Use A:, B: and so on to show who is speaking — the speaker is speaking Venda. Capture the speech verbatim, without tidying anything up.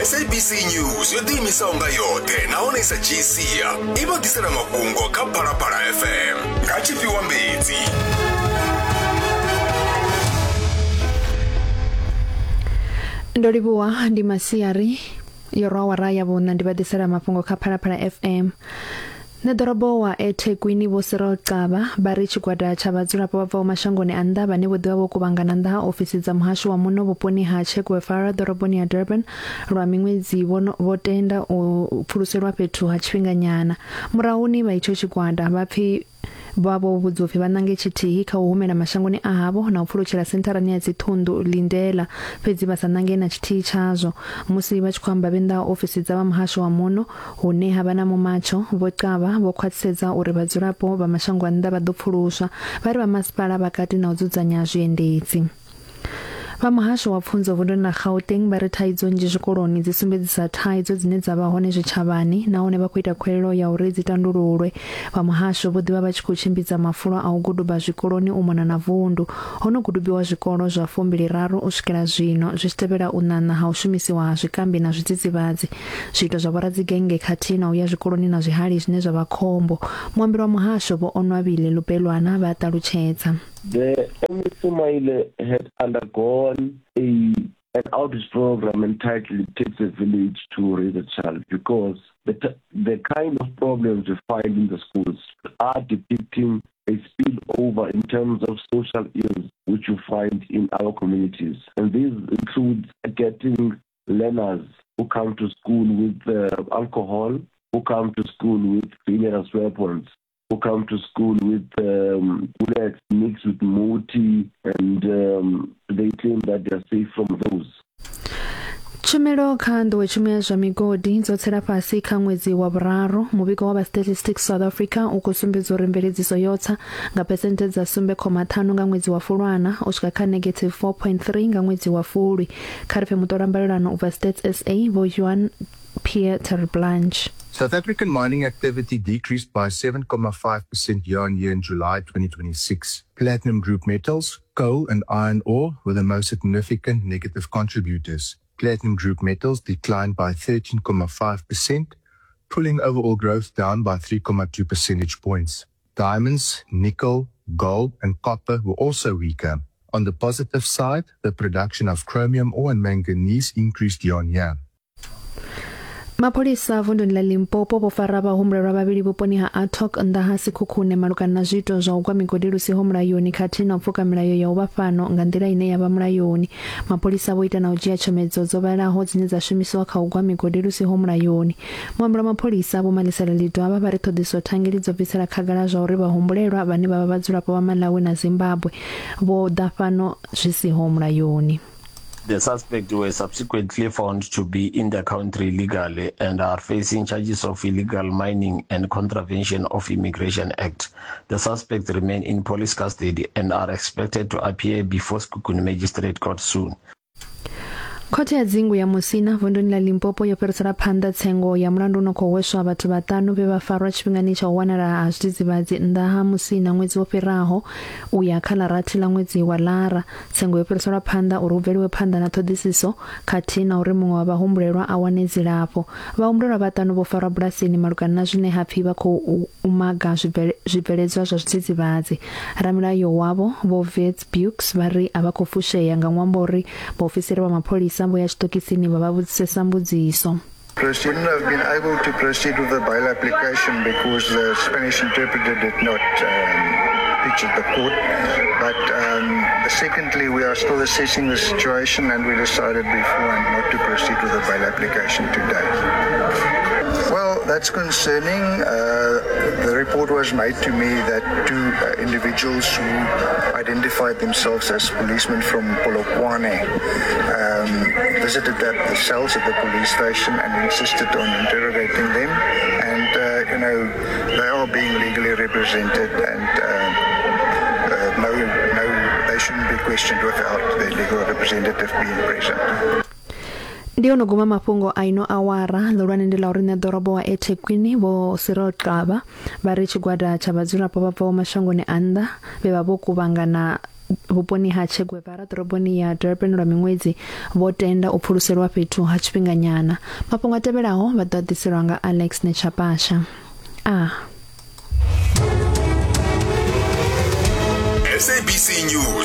A: S A B C News yo ḓiimisaho nga yoṱhe nahone i sa dzhii sia i vha ḓisela mafhungo kha Phalaphala F M nga Tshifhiwa Mbedzi.
B: Ndo livhuwa. Ndi masiari, yo rwa awara ya vhuṋa, ndi vha ḓisela mafhungo kha Phalaphala F M. Ṋeḓorobo wa eThekwini Vho Cyril Xaba vha ri tshigwada tsha vhadzulapo vha bvaho mashangoni a nnḓa vhane vho ḓivha vho kuvhangana nnḓa ha ofisi dza muhasho wa muno vhuponi ha Che Guevara ḓoroboni ya Durban lwa miṅwedzi vho tenda u pfuluselwa fhethu ha tshifhinganyana. Murahuni vha itsho tshigwada vha pfi vha vho vhudziwa upfi vha nange tshithihi kha u humela mashangoni a havho na u pfulutshela sentharani ya dziṱhunḓu Lindela, fhedzi vha sa nange na tshithihi tshazwo. Musi vha tshi khou amba vhe nnḓa ha ofisi dza vha muhasho wa muno hune ha vha na mumatsho, Vho Xaba vho khwaṱhisedza uri vhadzulapo vha mashango a nnḓa vha ḓo pfuluswa. Vha ri vha masipala vha kati na u dzudzanya zwiendedzi. Vha muhasho wa pfunzo vunduni ḽa Gauteng vha ri thaidzo nnzhi zwikoloni dzi sumbedzisa thaidzo dzine dza vha hone zwitshavhani nahone vha khou ita khuwelelo ya uri dzi tandululwe. Vha muhasho vho ḓivha vha tshi khou tshimbidza mafulo a u guduba zwikoloni u mona na vundu. Ho no gudubiwa zwikolo zwa fumbiliraru u swikela zwino, zwi tshi tevhela u ṋaṋa ha u shumisiwa ha zwikambi na zwidzidzivhadzi, zwiito zwa vhoradzigennge khathihi na u ya zwikoloni na zwihali zwine zwa vha khombo. Muambeli wa muhasho Vho Onwabile Lubelwana vha ṱalutshedza.
C: The M E C Maile had undergone a an outreach program entitled "It Takes a Village to Raise a Child", because the, the kind of problems we find in the schools are depicting a spillover in terms of social ills which you find in our communities. And this includes getting learners who come to school with uh, alcohol, who come to school with dangerous weapons, who come to school with um, bullets mixed with muti, and um, they claim that they are safe from those.
B: Tshumelo kha nḓowetshumo ya zwa migodi dzo tsela fhasi kha ṅwedzi wa vhuraru. Muvhigo wa vha Statistics South Africa u khou sumbedza uri mveledziso yo tsa nga phesenthe dza sumbe khoma ṱhanu nga ṅwedzi wa Fulwana u swika kha negative four point three nga ṅwedzi wa Fulwi. Kha ri pfe muṱolambalelano u bva Stats S A Vho Johan Pierre Terblanche.
D: South African mining activity decreased by seven point five percent year on year in July twenty twenty-six. Platinum group metals, coal, and iron ore were the most significant negative contributors. Platinum group metals declined by thirteen point five percent, pulling overall growth down by three point two percentage points. Diamonds, nickel, gold, and copper were also weaker. On the positive side, the production of chromium ore and manganese increased year on year.
B: Mapholisa vunduni ḽa Limpopo vho fara vhahumbulelwa vhavhili vhuponi ha Atok nnḓa ha Sekhukhune malugana na zwiito zwa u gwa migodi lu siho mulayoni khathihi na u pfuka milayo ya u vha fhano nga nḓila ine ya vha mulayoni. Mapholisa vho ita na u dzhia tshomedzo dzo vhalaho dzine dza shumisiwa kha u gwa migodi lu siho mulayoni. Muambeli wa mapholisa Vho Malesela Ledwaba vha ri ṱhoḓisiso thangeli dzo bvisela khagala zwa uri vhahumbulelwa vhane vha vha vhadzulapo vha Malawi na Zimbabwe vho ḓa fhano zwi siho mulayoni.
E: The suspects were subsequently found to be in the country illegally and are facing charges of illegal mining and contravention of Immigration Act. The suspects remain in police custody and are expected to appear before Sekhukhune Magistrate Court soon.
B: Khothe ya dzingu ya Musina vunduni ḽa Limpopo yo fhirisela phanḓa tsengo ya mulandu u no khou hweswa vhathu vhaṱanu vhe vha farwa tshifhingani tsha u wanala ha zwidzidzivhadzi nnḓa ha Musina ṅwedzi wo fhiraho u ya kha ḽa rathi ḽa ṅwedzi wa Lara. Tsengo yo fhiriselwa phanḓa uri hu bveliwe phanḓa na ṱhoḓisiso khathihi na uri muṅwe wa vhahumbulelwa a wane dzilafho. Vhahumbulelwa vhaṱanu vho farwa bulasini malugana na zwine ha pfi vha khou u maga zwibveledzwa zwa zwidzidzivhadzi. Ramilayo wavho Vho Wits Beukes vha ri a vha khou fushea nga ṅwambo uri vhaofisiri vha mapholisa vho ya tshiṱokisini vha vha vhudzisesa mbudziso.
F: Wouldn't have been able to proceed with the bail application because the Spanish interpreter did not um, pitch at the court. But um, secondly, we are still assessing the situation and we decided beforehand not to proceed with the bail application today. Well, that's concerning. Uh, the report was made to me that two uh, individuals who identified themselves as policemen from Polokwane um, visited the, the cells at the police station and insisted on interrogating them. And, uh, you know, they are being legally represented and uh, uh, no, no, they shouldn't be questioned without their legal representative being present.
B: Ndi ono guma mafhungo a ino awara. Ḽihulwane ndi ḽa uri ṋeḓorobo wa eThekwini Vho Cyril Xaba vha ri tshigwada tsha vhadzulapo vha bvaho mashangoni a nnḓa vhe vha vho kuvhangana vhuponi ha Che Guevara ḓoroboni ya Durban lwa miṅwedzi vho tenda u pfuluselwa fhethu ha tshifhinganyana. Mafhungo a tevhelaho vha ḓo a ḓiselwa nga Alex Nechapasha. A
A: S A B C News.